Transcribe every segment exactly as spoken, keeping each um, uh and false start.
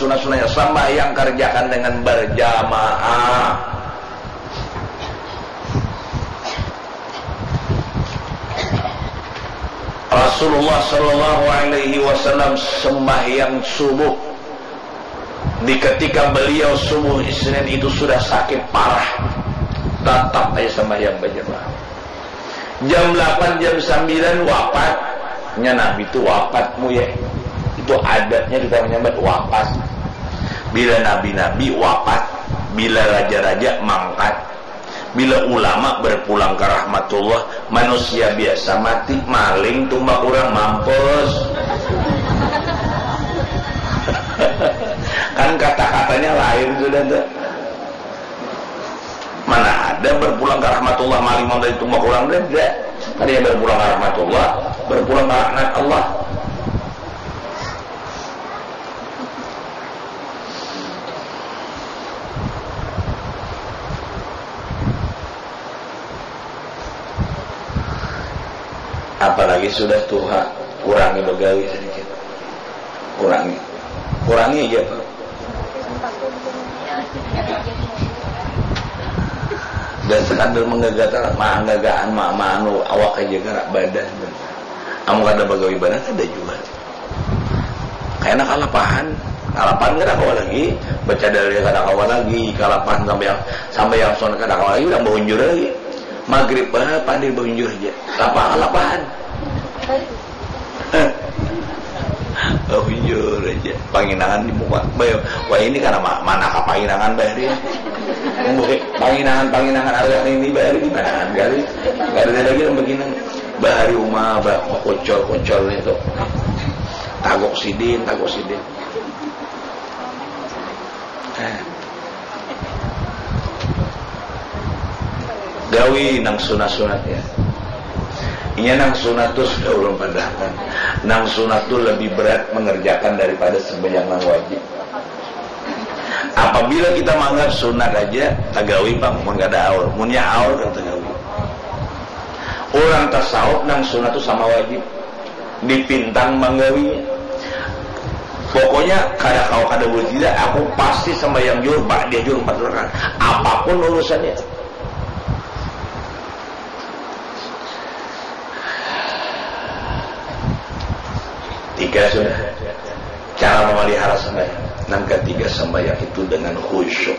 sunat-sunatnya, sembahyang kerjakan dengan berjamaah. Rasulullah Shallallahu Alaihi Wasallam sembahyang subuh, di ketika beliau subuh Isnin itu sudah sakit parah, tetap aja sembahyang berjamaah. Jam delapan, jam sembilan wafat. Nya Nabi tu wafat, mu ya. Itu adatnya kita menyambat wafat. Bila nabi-nabi wafat, bila raja-raja mangkat, bila ulama berpulang ke rahmatullah, manusia biasa mati, maling tumbak urang, mampus. Kan kata-katanya lain sudah tuh. Mana ada berpulang ke rahmatullah, maling mau dari tumbak urang, ada. Ada yang berpulang ke rahmatullah, berpulang ke laknat Allah. Apalagi sudah tuha, kurangi begawi sedikit. Kurangi. Kurangi aja, Pak. Dan sekadar menggagal, menggagaan, ma, ma, anu, awak aja, gerak badan. Amun kada bagawi badan, kada jua. Kayaknya kalapahan. Kalapahan kada kawa lagi. Baca dalil kada kawa lagi. Kalapahan sampai yang, sampai yang sunat kada kawa lagi, udah bahunjur lagi. Maghrib, bah, pandir bahunjur aja. Apa kalapahan? Bahunjur aja. Panginangan di muka. Bah, wah, ini karena ma, mana ka panginangan, bah, hari ya. Mbah, panginangan, panginangan harga ini, bah, hari di mana kali? Kada ada lagi yang begini. Bahari uma, bah, kucol, kucol itu. Tagok sidin, tagok sidin. Eh. Gawi nang sunat-sunat ya. Inya nang sunat tu sudah ulun padahkan. Nang sunat tu lebih berat mengerjakan daripada sembahyang nang wajib. Apabila kita menganggap sunat aja, tagawi pang, mun kada aur. Munnya aur, kada tagawi. Urang tasawuf nang sunat tu sama wajib. Dipintang manggawinya. Pokoknya kada kawa kada buliah tidak, aku pasti sembahyang juhur, ba'diah juhur, empat rakaat. Apapun urusannya. Tiga sudah. Cara memelihara sembahyang. Nang ketiga, sembahyang itu dengan khusyuk.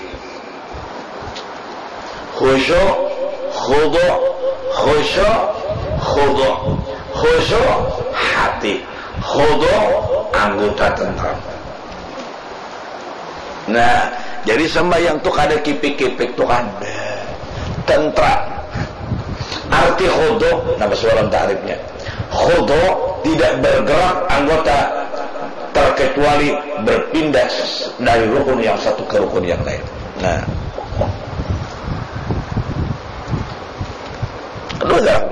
Khusyuk, khudu, khusyuk, khudu. Khusyuk hati, khudu anggota, tentram. Nah, jadi sembahyang tu kada kipik-kipik tu kada. Tentram. Arti khudu, nah, bahasa lawan ta'rifnya. Khudu tidak bergerak anggota terkecuali berpindah dari rukun yang satu ke rukun yang lain. Nah. Kada bergerak.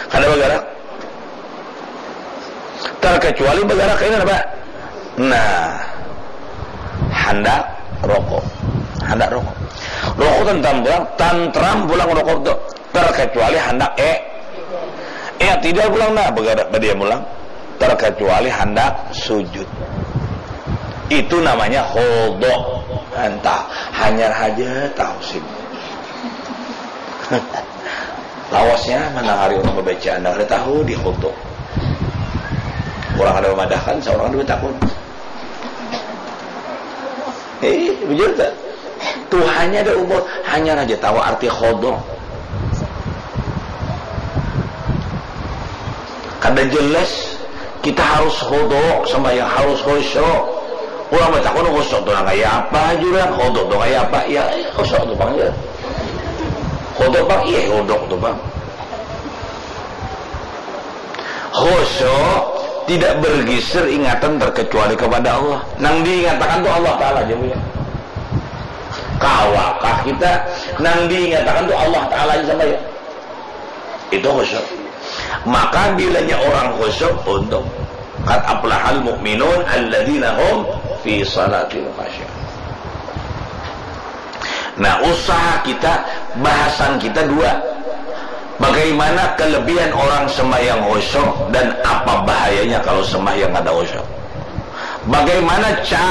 Kada bergerak. Terkecuali bergerak ini apa? Nah. Handak rokok. Handak rokok. Rokok tentram pulang, tantram pulang rokok tu. Terkecuali handak e, e tidak pulang, nah, bergerak, berdiam pulang. Terkecuali handak sujud. Itu namanya khudu. Entah, hanyar haja tahu sih. Lawasnya mana hari orang baca, anda kada tahu di khudu. Orang ada memadahkan, seorang ada bertakun. Eh, bujur tak? Tuhannya ada umur, hanyar haja tahu arti khudu. Kada jelas, kita harus khudu, sembahyang harus khusyuk. Urang batakun khusyuk tu nang kaya apa, jua khudu tu kaya apa? Ya, khusyuk tu pang ja. Khudu pang, iya, khudu tu pang. Khusyuk tidak bergisir ingatan terkecuali kepada Allah. Nang diingatakan tu Allah Ta'ala ja, ya. Kawakah kita nang diingatakan tu Allah Ta'ala ja sampai, ya? Itu khusyuk. Maka bilanya orang khusyuk, untung. Qad aflahal mu'minun alladzina hum fi salatihim khasyi'un. Nah, usaha kita, bahasan kita dua. Bagaimana kelebihan orang sembahyang khusyuk dan apa bahayanya kalau sembahyang kada khusyuk? Bagaimana cara